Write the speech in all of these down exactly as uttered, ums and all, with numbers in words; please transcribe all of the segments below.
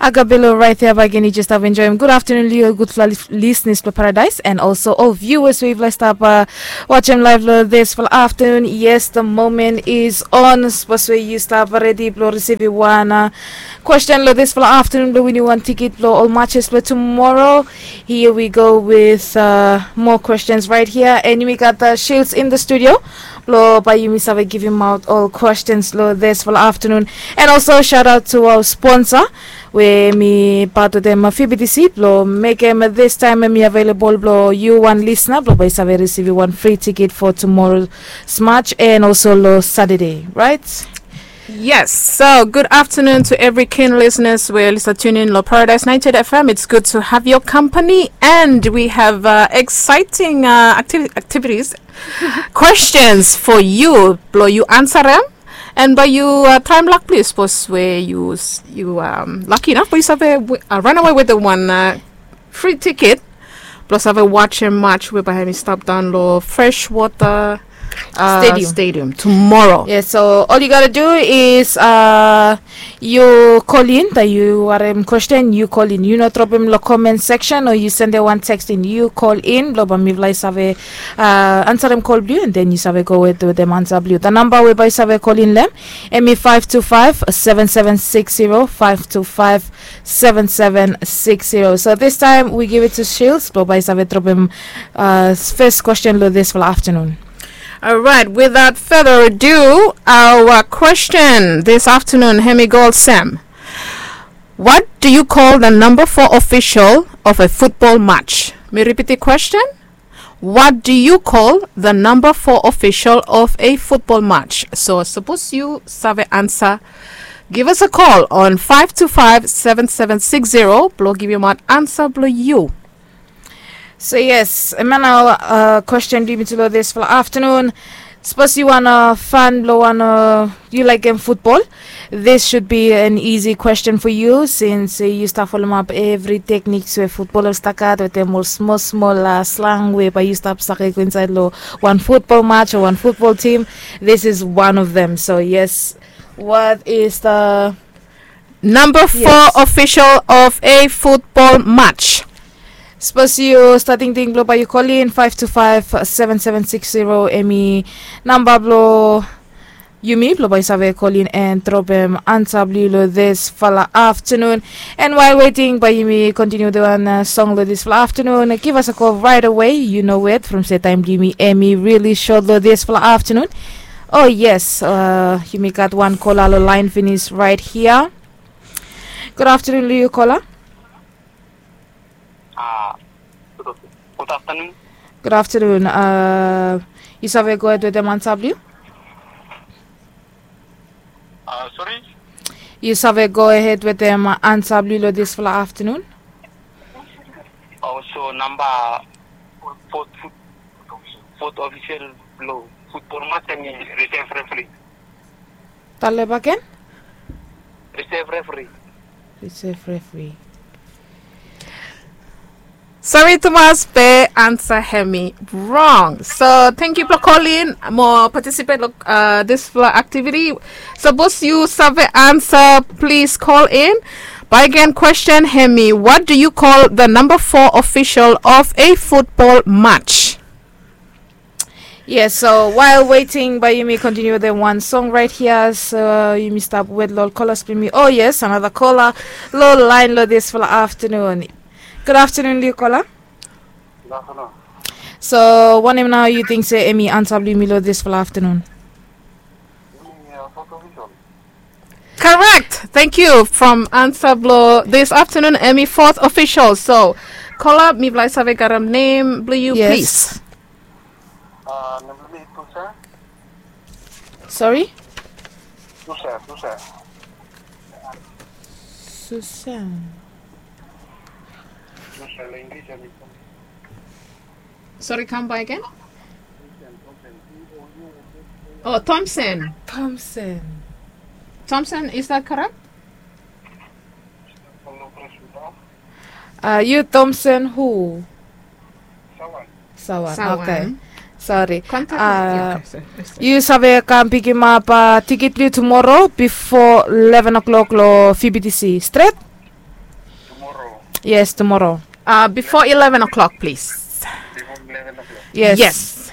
Agabelo raet ya bagen, yu jes stap enjoem. Gud aftenun long yu ol gudfala lisnis blong Paradise and also ol viewers we yufala i stap wajem laev long disfala aftenun. Yes, the moment is on. Sapos we yu stap redi blong risivim wan kwesten long disfala aftenun blong winim wan tikit blong ol matches blong tumoro. Here we go with more questions right here, and yumi gat Shields in the studio blong bae yumi save givimaot ol kwestens long disfala aftenun. And also shout out to our sponsor we mi pat wetem F B T C blong mekem distaem hemi available blong yu wan lisna blong bae yu save risivim wan fri tikit for tumoro match and also long Satade, right? Yes, so good afternoon to every keen listeners we listen tuning long Paradise ninety-eight F M. It's good to have your company, and we have uh, exciting uh, activi- activities, questions for you. Blong yu ansarem, and bae yu uh, traem lak blong yu. Sapos we yu yu um, lucky enough, bae yu save uh, run away with the one uh, free ticket blong save wajem match we bae hemi stap daon long Freshwater uh, Stadium. Stadium tomorrow. Yes, so all you gotta do is uh, yu kolin, taem yu harem kwesten, yu kolin. Yu no dropem long comment section o yu sendem wan text in. Yu kolin blong bae mifala i save uh, ansarem kol blong yu, and then yu save go wetem ansa blong yu. The number we bae yu save kolin long hem, hemi five two five seven seven six zero, five two five seven seven six zero. So this time we give it to Shields blong bae yu save dropem uh, first question long disfala aftenun. All right, without further ado, our question this afternoon hemi go olsem: What do you call the number four official of a football match? Mi ripit the question. What do you call the number four official of a football match? So sapos yu save ansa, give us a call on five two five seven seven six zero blong givimaot ansa blong yu. So yes, hemia nao uh, kwesten blong yumi tu long disfala aftenun. Sapos yu wan uh, fan blong wan uh, yu laekem futbol, this should be an easy question for you since uh, yu stap folomap evri tekniks we futbol i stap gat wetem ol smol smol uh, slang we bae yu stap save go insaed long wan futbol match o wan futbol tim. This is one of them. So yes, what is the number four official of a football match? Sapos yu stap tingting blong bae yu kolin, five two five seven seven six zero hemi namba blong yumi blong bae yu save kolin and dropem ansa blong yu long disfala aftenun. And while waiting bae yumi kontiniu wetem wan uh, song long disfala aftenun, give us a call right away. Yu no wet from se taem blong yumi hemi really short long disfala aftenun. Oh yes, uh, yumi gat wan kola long laen finis right here. Gud aftenun long yu, kola. Ah, good afternoon. Good afternoon. Uh, yu save gohed wetem ansa blong yu? Uh, sorry? Yu save gohed wetem ansa blong yu long disfala aftenun? Also number fourth, fourth official blong futbol match hemi reserve referee. Talem bagen? Reserve referee. Reserve referee. Sori tumas be ansa hemi wrong. So tangkiu blong kolin mo participate long disfala activity. Sapos yu save ansa, plis kolin. Bae gen, kwesten hemi, what do you call the number four official of a football match? Yes, so while waiting bae yumi kontiniu wetem wan song right here. So yumi stap wet long ol kolas blong yumi. Oh yes, another kola long laen long disfala aftenun. Gud aftenun long yu, kola. Gud aftenun. So wanem nao yu ting se hemi ansa blong yumi long disfala aftenun? Korek. Tangkiu. From ansa blong dis aftenun hemi fourth official. So kola, mifala i save karem nem blong yu, plis? Sori? Susa, Susa. Susa. Sori, kam baek gen. Oh, Thompson. Thompson. Thompson, is that correct? Uh, yu Thompson who? Sawan. Sawan. Okay. Sori. Yu save kam pikimap tikit blong yu tumoro bifo leven o'clock long F B T C stret? Yes, tumoro. Uh, before eleven o'clock, please. Before eleven o'clock. Yes. Yes.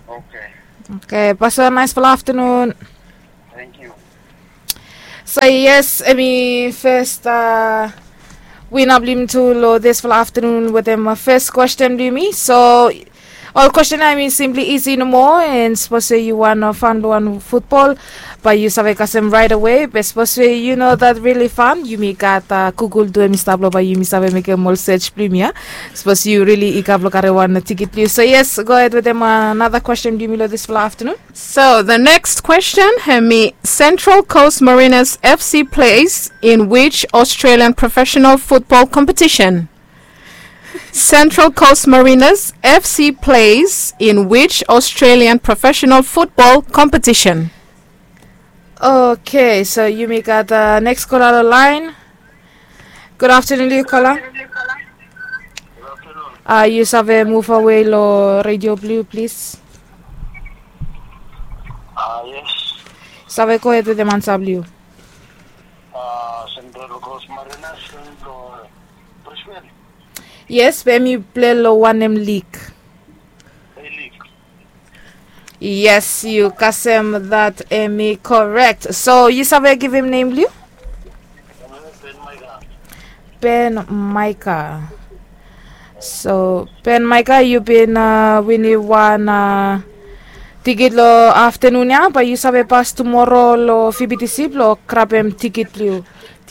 Okay. Okay, pasa naisfala aftanun. Thank you. So yes, hemi fes, uh, wina blong yumi tu long disfala aftanun wetem, uh, fes kwesten blong yumi. So ol kwesten ya hemi simpli isi nomo, and sapos we yu wan, uh, fan blong wan futbol, bae yu save kasem raet awe. Be sapos we yu no gat rili fan, yumi gat, uh, Google tu, hemi stap long bae yumi save mekem ol search blong yumi ya. Sapos yu rili i gat blong karem wan tikit blong yu. So yes, gohed wetem, uh, another question blong yumi long disfala aftanun. So the next question, hemi, Central Coast Mariners F C plays in which Australian professional football competition? Central Coast Mariners F C plays in which Australian professional football competition? Okay, so yumi gat, uh, next kola long laen. Gud aftanun long yu, kola. Uh, yu save muv awe long redio blong yu, plis. Uh, yes. Save gohed wetem ansa blong yu. Uh, Central Coast Mariners long Brisbane. Yes, be hemi plei long wanem lig? A lig. Yes, yu kasem dat, hemi korek. So yu save givim nem blong yu? Ben Maika. So Ben Maika, yu bin, uh, winim wan, uh, tikit long aftanun ya, bae yu save pas tumoro long V B T C blong grabem tikit blong yu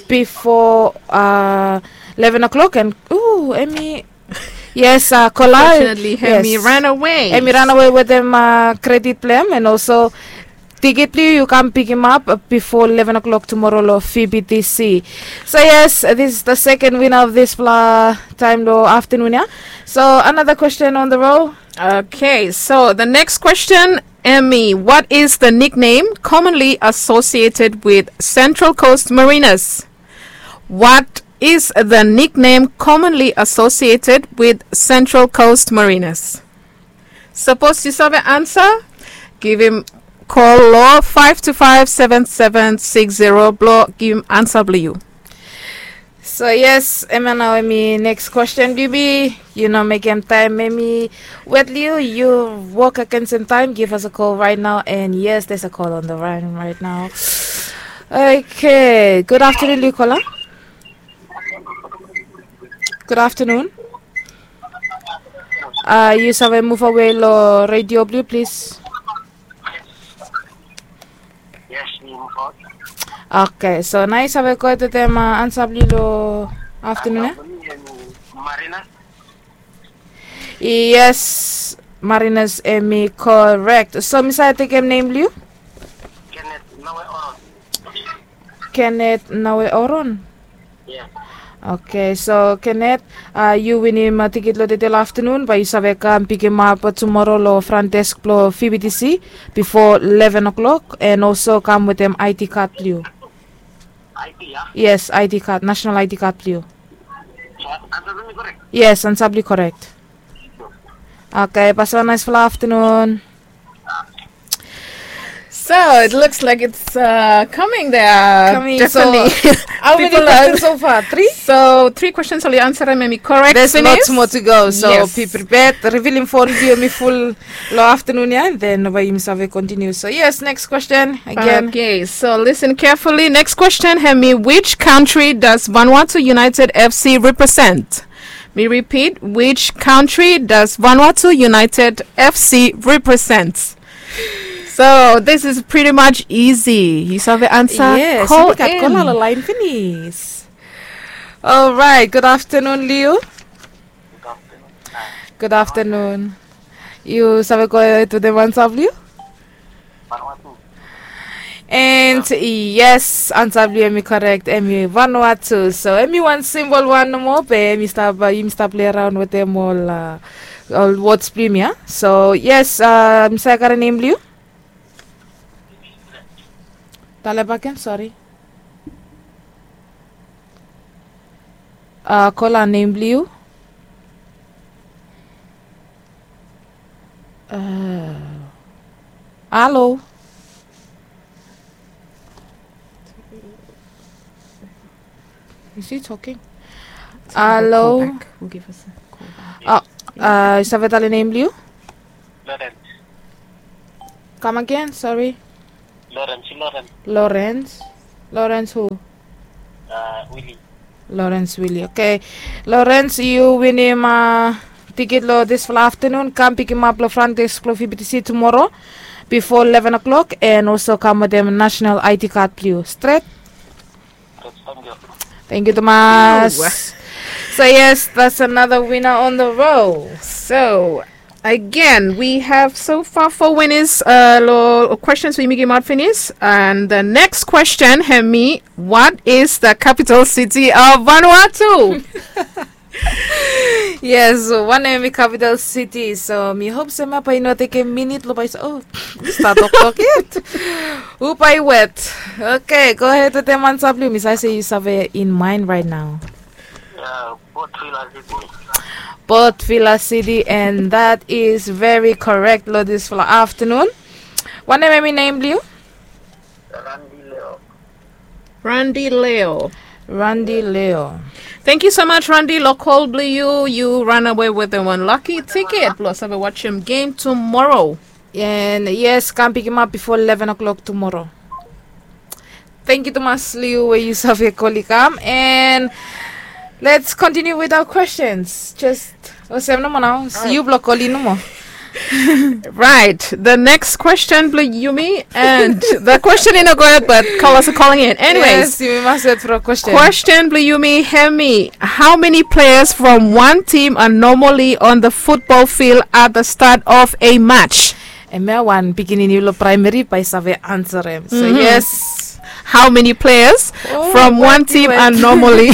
bifo, uh, eleven o'clock. And, uh, hemi Yes, uh, kola. Unfortunately, hemi ran awe. Hemi ran awe wetem, uh, kredit blong hem, and also tikit blong yu yu kam pikimap, uh, bifo eleven o'clock tumoro long V B T C. So yes, this is the second winner of disfala taem long aftanun ya. So another question on the roll. Okay, so the next question, hemi, what is the nickname commonly associated with Central Coast Mariners? What is the nickname commonly associated with Central Coast Mariners? Sapos yu save ansa, givim kol long five two five seven seven six zero blong givim ansa blong yu. So yes, hemia nao hemi next question blong yumi. Yu no mekem taem hemi wet long yu, yu wok agensem taem, give us a call right now. And yes, there's a call on the line right now. Okay, gud aftanun long yu, kola. Gud aftanun. Uh, yu save muv awe long redio blong yu, plis. Yes, mi muv awe. Okay, so nao yu save gohed wetem, uh, ansa blong yu long aftanun ya? Ansa blong mi hemi Mariners. Yes, Mariners hemi korek. So mi save tekem nem blong yu? Kenneth Nawe Oron. Kenneth Nawe Oron? Yes. Okay, so Kenneth, uh, yu winim, uh, tikit long tede long aftanun, bae yu save kam pikimap tumoro long front desk blong V B T C bifo eleven o'clock, and also kam wetem ID card blong yu. ID ya? Yes, ID card, national ID card blong yu. So ansa blong mi korek? Yes, ansa blong yu korek. Okay, pasa wan naesfala aftanun. So it looks like it's, uh, coming there. Coming, so definitely. How many questions so far? Three? So three questions oli ansarem hemi korek finis. There's lots more to go, so be prepared. Revealing fon blong yu hemi ful long aftanun ya, and then bae yumi save continue. So yes, next question again. Okay, so listen carefully. Next question hemi, which country does Vanuatu United F C represent? Mi ripit, which country does Vanuatu United F C represent? So this is pretty much easy. Yu save ansa, yes, kol in. Yu gat kola long laen finis. Alright, gud aftanun long yu. Gud aftanun. Yu save gohed wetem ansa blong yu? And yes, ansa blong yu hemi korek, hemi Vanuatu. So hemi wan simpol wan nomo, be hemi stap, uh, yumi stap plei raon wetem ol, uh, ol wods blong yumi ya. So yes, uh, mi save karem nem blong yu? Talem bakegen, sori. Uh, kola, nem blong yu? Uh, halo? Is he talking? Alo. Yu save talem nem blong yu? Lawrence. Kam agen, sori. Lawrence, Lawrence. Lawrence. Lawrence hu? Willy. Lawrence Willy. Oke. Lawrence, yu winim tiket long dispela aftanun. Kam pikimap long front desk blong V B T C tumora bifo eleven o'clock, and also kam wetem national I D card blong yu. Stret? Thank you tumas. So yes, that's another winner on the row. So again, we have so far four winners, uh, lo questions we givim out finis. And the next question, hemi, what is the capital city of Vanuatu? Yes, wanem hemi capital city? So mi hop se mapa i no tekem minit lo bai, oh, mi stap toktok yet. Upa i wet. Okay, go ahead wetem ansa blong yu. Mi save se yu save in mind right now. Port Vila City. Port Vila City, and that is very correct lo dispela aftanun. Wanem hemi nem blong yu? Randi Leo. Randi Leo. Thank you so much, Randi. Lo kol blong yu, yu ranawe wetem wan lucky tiket blong save wasim gem tumora. And yes, kam pikimap bifo eleven o'clock tumora. Thank you tumas long yu we yu save kol i kam. And let's continue with our questions. Just olsem nomo nao, yu blong kol i nomo. Right. The next question blong yumi, and the question i no go out, but callers are calling in. Anyways, yes, yumi mas wet for a question. Question blong yumi, hemi, how many players from one team are normally on the football field at the start of a match? Hemia wan pikinini lo primary bai save ansarem. So yes. How many players from one team are normally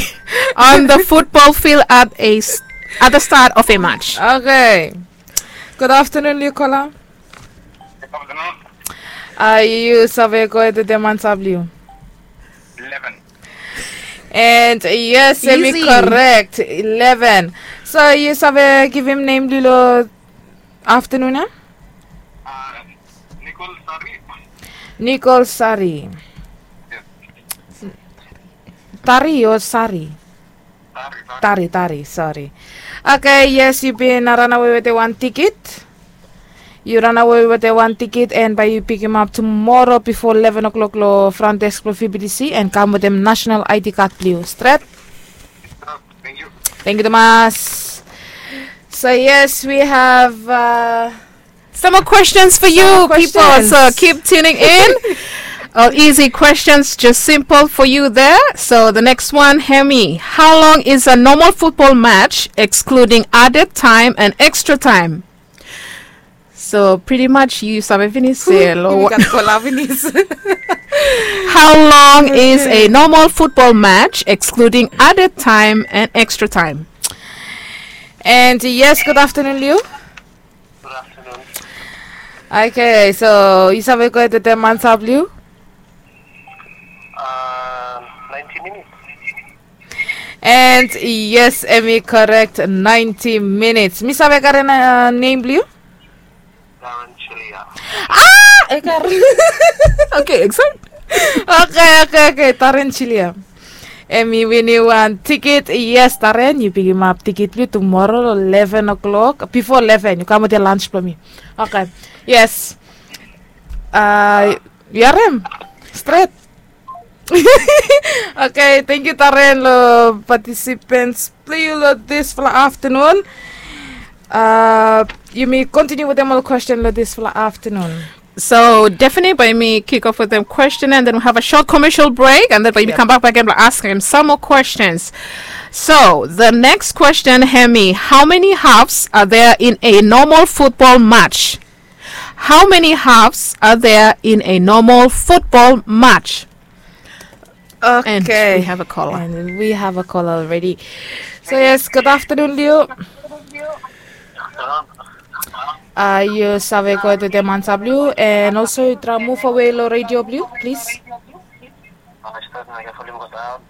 on the football field at a s- at the start of a match? Okay. Good afternoon, Nicola. Yu save go ahead wetem ansa blong yu. Eleven. And yes, hemi correct. Eleven. So yu save givim nem blong yu lo aftanun ya? Nicole Sari. Nicole Sari. Tari o Sari? Tari, Tari, sori. Okay, yes, yu bin ranawe wetem wan tiket. Yu ranawe wetem wan tiket, and bai yu pikimap tumora bifo eleven o'clock lo front desk blong V B T C, and kam wetem national I D card blong yu. Stret? Thank you tumas. So yes, we have some more questions for you, people. So keep tuning in. Oh, easy questions, just simple for you there. So the next one, hemi, how long is a normal football match excluding added time and extra time? So pretty much yu save finis se lo. How long is a normal football match excluding added time and extra time? And yes, good afternoon, Liu. Good afternoon. Okay, so yu save go ahead wetem ansa blong yu? Uh, ninety minutes. And yes, hemi correct, ninety minutes. Mi save karem nem blong yu? Darren Chilia. Ah, e kar. Okay, exact. Okay, okay, okay, Darren Chilia. Hemi winim wan tiket. Yes, Darren, yu pikimap tiket blong yu tumora lo eleven o'clock. Bifo eleven yu kam wetem lunch blong mi. Okay. Yes. Uh, yu harem? Stret. Okay, thank you Darren lo participants blong yu lo disfala aftanun. Uh, yumi continue wetem ol question lo disfala aftanun. So definitely bai mi kick off wetem question, and then we have a short commercial break, and then bai mi kambak bak gen blong askem some more questions. So the next question, hemi, how many halves are there in a normal football match? How many halves are there in a normal football match? Okay. And we have a caller. And we have a caller already. So yes, good afternoon, Liu. Uh, yu save go wetem ansa blong yu, and also yu traem muv awe lo radio blong yu, please.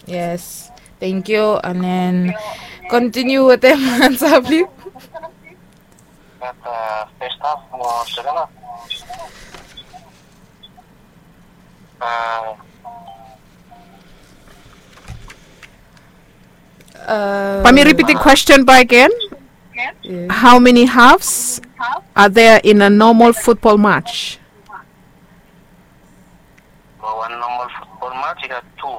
Yes, thank you. And then continue wetem ansa blong yu. Bae mi ripit the question back again. How many halves are there in a normal football match? Wan normal football match i gat tu.